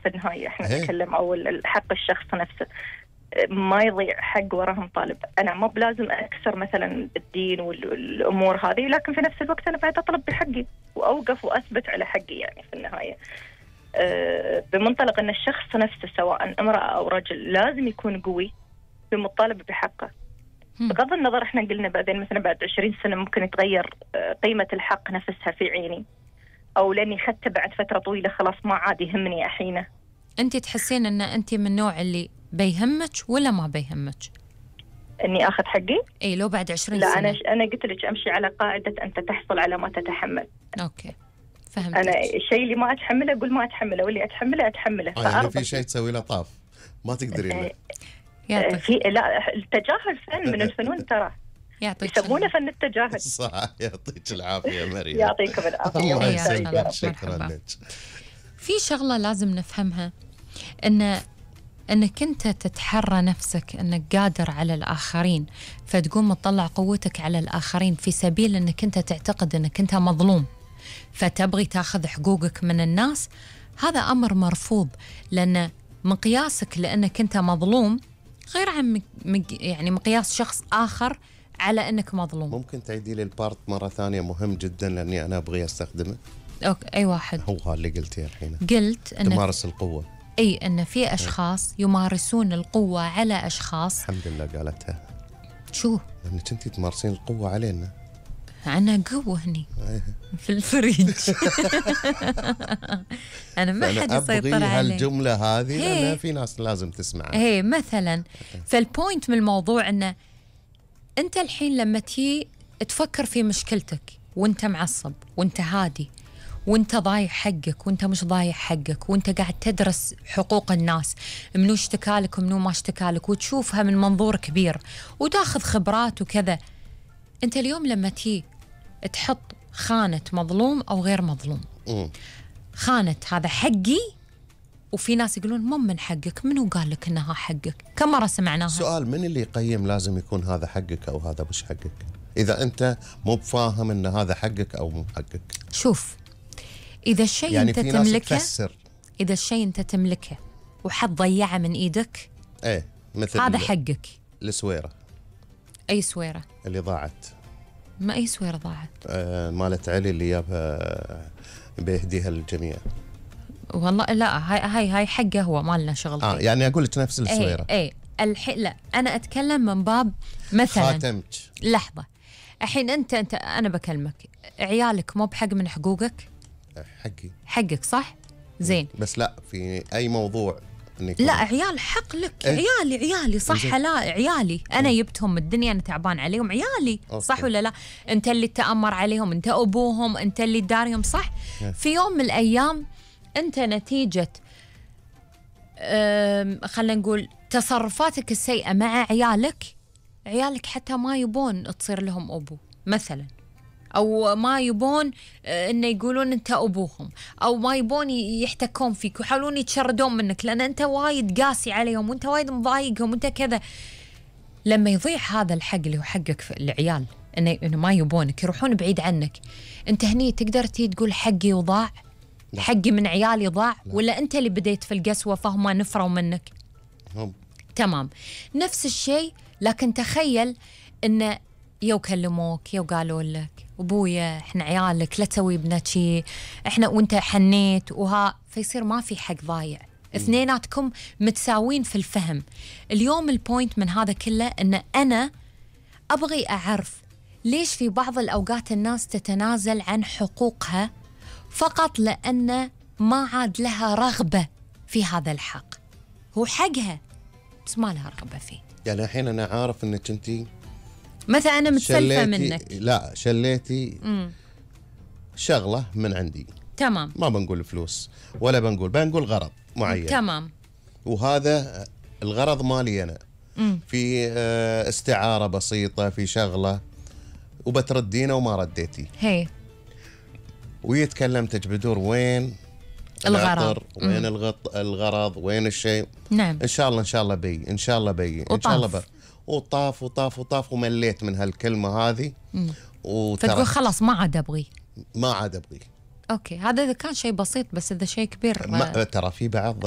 في النهاية احنا نتكلم، او حق الشخص نفسه ما يضيع حق وراهم طالب. انا مو بلازم اكسر مثلا الدين والامور هذه، لكن في نفس الوقت انا بعد اطلب بحقي واوقف واثبت على حقي. يعني في النهاية بمنطلق ان الشخص نفسه سواء امرأة او رجل لازم يكون قوي في مطالبة بحقه. بغض النظر احنا قلنا بعدين مثلا بعد 20 سنة ممكن يتغير قيمة الحق نفسها في عيني، او لاني اخذته بعد فترة طويلة خلاص ما عاد يهمني احينه. انت تحسين ان انت من النوع اللي بيهمك ولا ما بيهمك اني اخذ حقي؟ اي لو بعد 20 لا سنة. انا قلت لك امشي على قاعدة انت تحصل على ما تتحمل. اوكي فهمت. انا الشيء اللي ما اتحمله اقول ما اتحمله، واللي اتحمله اتحمله. يعني في شيء تسوي له طاف ما تقدرين له. في لا التجاهل فن من الفنون ترى، يسمونه فن التجاهل. صح. يعطيك العافية مريم. يعطيكم العافية. الله يسلمك. شكرا لك. في شغلة لازم نفهمها، انك انت تتحرى نفسك انك قادر على الاخرين، فتقوم تطلع قوتك على الاخرين في سبيل انك انت تعتقد انك انت مظلوم فتبغي تاخذ حقوقك من الناس. هذا امر مرفوض، لان مقياسك لانك انت مظلوم غير عن يعني مقياس شخص اخر على انك مظلوم. ممكن تعيدي لي البارت مرة ثانية؟ مهم جدا لاني انا ابغي استخدمه. اوكي اي واحد؟ هو اللي قلتيه الحين. قلت ان تمارس القوة. اي ان في اشخاص يمارسون القوة على اشخاص. الحمد لله قالتها. شو؟ لانك انت تمارسين القوة علينا. أنا قوة هني في الفريج. أنا ما حد يسيطر علي. هالجملة هذه لأن في ناس لازم تسمعها. هي مثلا فالبوينت من الموضوع أنه أنت الحين لما تي تفكر في مشكلتك وأنت معصب وأنت هادي وأنت ضايع حقك وأنت مش ضايع حقك وأنت قاعد تدرس حقوق الناس، منو اشتكالك ومنو ما اشتكالك، وتشوفها من منظور كبير وتاخذ خبرات وكذا. أنت اليوم لما تي تحط خانة مظلوم أو غير مظلوم، خانة هذا حقي، وفي ناس يقولون مو من حقك، منو قال لك إنها حقك؟ كم مرة سمعناها؟ سؤال، من اللي يقيم لازم يكون هذا حقك أو هذا مش حقك إذا أنت مو بفاهم إن هذا حقك أو مو حقك؟ شوف، إذا الشيء يعني أنت تملكه، إذا الشيء أنت تملكه وحد ضيعه من إيدك، إيه مثل هذا حقك. السويرة. أي سويرة؟ اللي ضاعت. ما أي سويرة ضاعت؟ مالت علي اللي جابها بيهديها للجميع. والله لا، هاي حقه هو، مالنا شغل. يعني أقول لك نفس السويرة. اي لا أنا أتكلم من باب مثلا خاتمك. لحظة، الحين أنت أنا بكلمك، عيالك مو بحق من حقوقك؟ حقك صح؟ زين. بس لا في أي موضوع لا عيال حق لك. عيالي صح. لا عيالي أنا جبتهم من الدنيا، أنا تعبان عليهم، عيالي صح ولا لا؟ أنت اللي تأمر عليهم، أنت أبوهم، أنت اللي داريهم صح؟ في يوم من الأيام أنت نتيجة خلينا نقول تصرفاتك السيئة مع عيالك حتى ما يبون تصير لهم أبو مثلا، أو ما يبون إنه يقولون أنت أبوهم، أو ما يبون يحتكون فيك ويحاولون يتشردون منك لأن أنت وايد قاسي عليهم وأنت وايد مضايقهم وأنت كذا. لما يضيع هذا الحق اللي هو حقك في العيال، إنه ما يبونك، يروحون بعيد عنك، أنت هني تقدر تقول حقي وضاع؟ حقي من عيالي ضاع؟ ولا أنت اللي بديت في القسوة فهم نفروا منك؟ تمام. نفس الشيء، لكن تخيل إنه يو كلموك يو قالوا لك أبويا إحنا عيالك لا تسوي ابنك شيء، إحنا وأنت حنيت فيصير ما في حق ضايع، اثنيناتكم متساوين في الفهم. اليوم البوينت من هذا كله إن أنا أبغي أعرف ليش في بعض الأوقات الناس تتنازل عن حقوقها فقط لأن ما عاد لها رغبة في هذا الحق. هو حقها بس ما لها رغبة فيه. يعني الحين أنا عارف إنك أنتي مثلا أنا متسلفة منك، لا شليتي شغلة من عندي، تمام، ما بنقول فلوس ولا بنقول غرض معين، تمام، وهذا الغرض مالي أنا، في استعارة بسيطة في شغلة وبتردينه وما رديتي، هي ويتكلمتك بدور وين الغرض، وين الغرض، وين الشيء. نعم. إن شاء الله بي إن شاء الله وطاف ومليت من هالكلمة هذه، فتقول خلاص ما عاد أبغي. ما عاد أبغي. أوكي، هذا إذا كان شيء بسيط، بس إذا شيء كبير ترى في بعض